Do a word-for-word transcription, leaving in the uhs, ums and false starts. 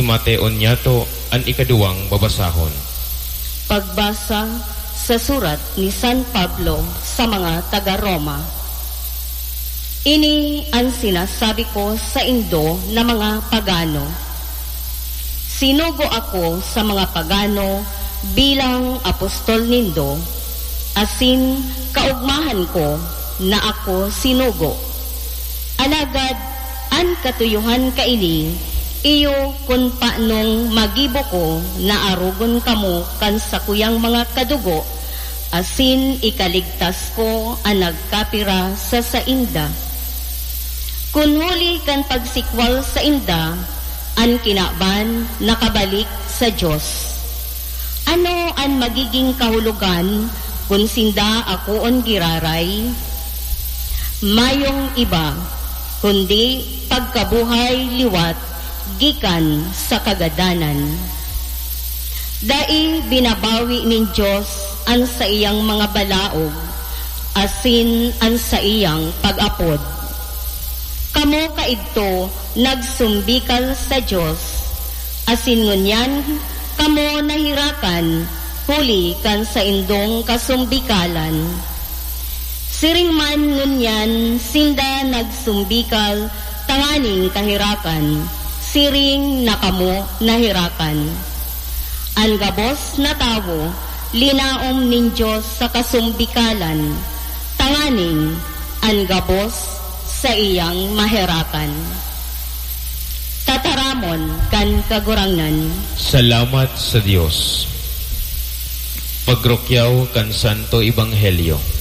Mateo niyato an ikaduwang babasahon. Pagbasa sa surat ni San Pablo sa mga taga-Roma. Ini an sinasabi ko saindo na mga pagano. Sinugo ako sa mga pagano bilang apostol nindo, asin kaogmahan ko na ako sinugo. Alagad an katuyohan kaini, iyo kun panong magibo ko na arogon kamo kan sakuyang mga kadugo, asin ikaligtas ko an nagkapira sa sainda. Kun huli kan pagsikwal sainda, an kinaban nakabalik sa Dios. Ano an magiging kahulogan kun sinda akoon giraray? Mayong iba, kundi pagkabuhay liwat gikan sa kagadanan. Dai binabawi nin Dios an saiyang mga balaog asin an saiyang pag-apod. Kamo kaidto nagsumbikal sa Dios, asin ngunyan kamo naherakan huli kan saindong kasumbikalan. Siring man ngunyan sinda nagsumbikal tanganing kaherakan, siring na kamo naherakan. An gabos na tawo linaom nin Dios sa kasumbikalan, tanganing an gabos saiyang maherakan. Tataramon kan Kagurangnan. Salamat sa Dios. Pagrukyaw kan Santo Ebanghelyo.